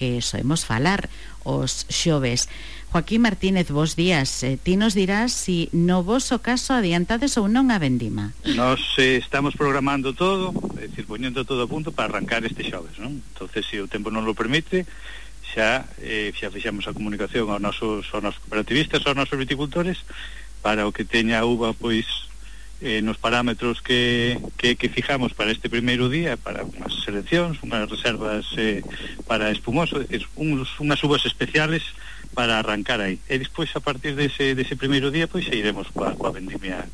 que soemos falar os xoves. Joaquín Martínez, bos días. Ti nos dirás si no voso caso adiantades ou non a vendima. Nos estamos programando todo, é dicir, poñendo todo a punto para arrancar este xoves, non? Entonces, se o tempo non lo permite, xa fixamos a comunicación aos nosos cooperativistas, aos nosos viticultores, para o que teña a uva, pois, nos parámetros que fijamos para este primeiro día, para unhas seleccións, unhas reservas para espumoso, é dicir, unhas uvas especiales para arrancar aí. E despois, a partir dese primeiro día, pois, iremos coa vendimia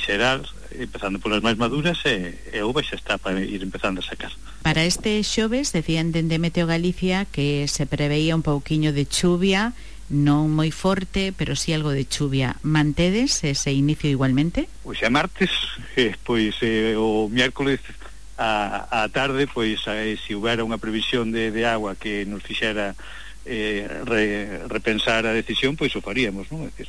xeral, empezando polas máis maduras, e a uva xa está para ir empezando a sacar. Para este xoves, decían dende Meteo Galicia que se preveía un pouquiño de chuvia, non moi forte, pero sí algo de chuvia. Mantedes ese inicio igualmente? Pois é martes, pois o miércoles a tarde, pois se houbera unha previsión de agua que nos fixera repensar a decisión, pois o faríamos, non? É dicir,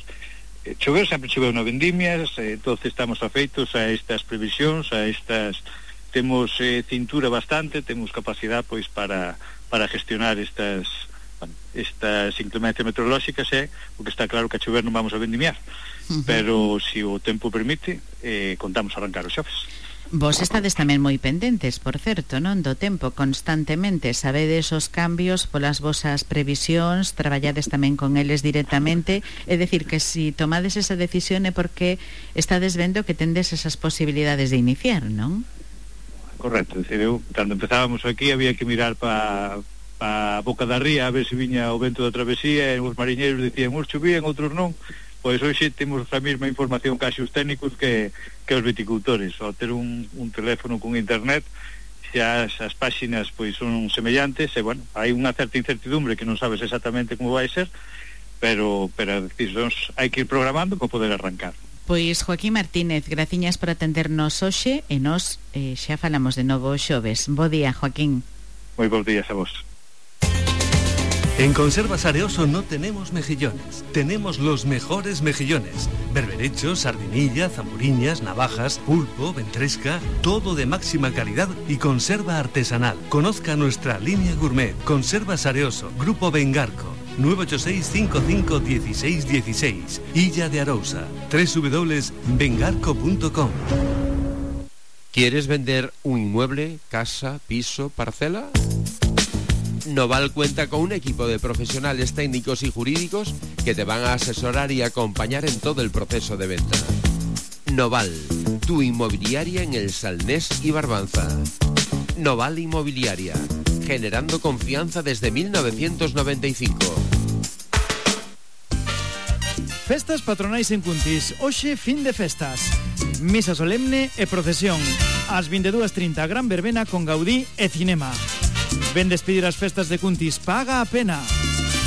choveu, sempre choveu na vendimias, entonces estamos afeitos a estas previsións, temos cintura bastante, temos capacidade pois para gestionar estas inclemencias meteorolóxicas, porque está claro que a chover non vamos a vendimiar, pero se o tempo permite, contamos a arrancar os xoves. Vos estades tamén moi pendentes, por certo, non? Do tempo, constantemente sabedes os cambios polas vosas previsións, traballades tamén con eles directamente, é dicir, que se tomades esa decisión é porque estades vendo que tendes esas posibilidades de iniciar, non? Correcto, é dicir, cando empezábamos aquí había que mirar para a boca da ría a ver se viña o vento da travesía, e os mariñeiros dicían uns chovían, outros non. Pois hoxe temos a mesma información case os técnicos que os viticultores. Ao ter un teléfono con internet, xa as páxinas pois son semellantes, e bueno, hai unha certa incertidumbre que non sabes exactamente como vai ser, pero hai que ir programando para poder arrancar. Pois Joaquín Martínez, graciñas por atendernos hoxe, e nos xa falamos de novo xoves. Bo día, Joaquín. Moi bons días a vos. En Conservas Areoso no tenemos mejillones, tenemos los mejores mejillones. Berberechos, sardinilla, zamburiñas, navajas, pulpo, ventresca, todo de máxima calidad y conserva artesanal. Conozca nuestra línea gourmet. Conservas Areoso, Grupo Bengarco, 986-55-1616, Illa de Arousa, www.bengarco.com. ¿Quieres vender un inmueble, casa, piso, parcela? Noval cuenta con un equipo de profesionales técnicos y jurídicos que te van a asesorar y acompañar en todo el proceso de venta. Noval, tu inmobiliaria en el Salnés y Barbanza. Noval Inmobiliaria, generando confianza desde 1995. Festas patronais en Cuntis, hoxe fin de festas. Misa solemne e procesión. Ás 22:30 gran verbena con Gaudí e cinema. Ven despedir as festas de Cuntis, paga a pena.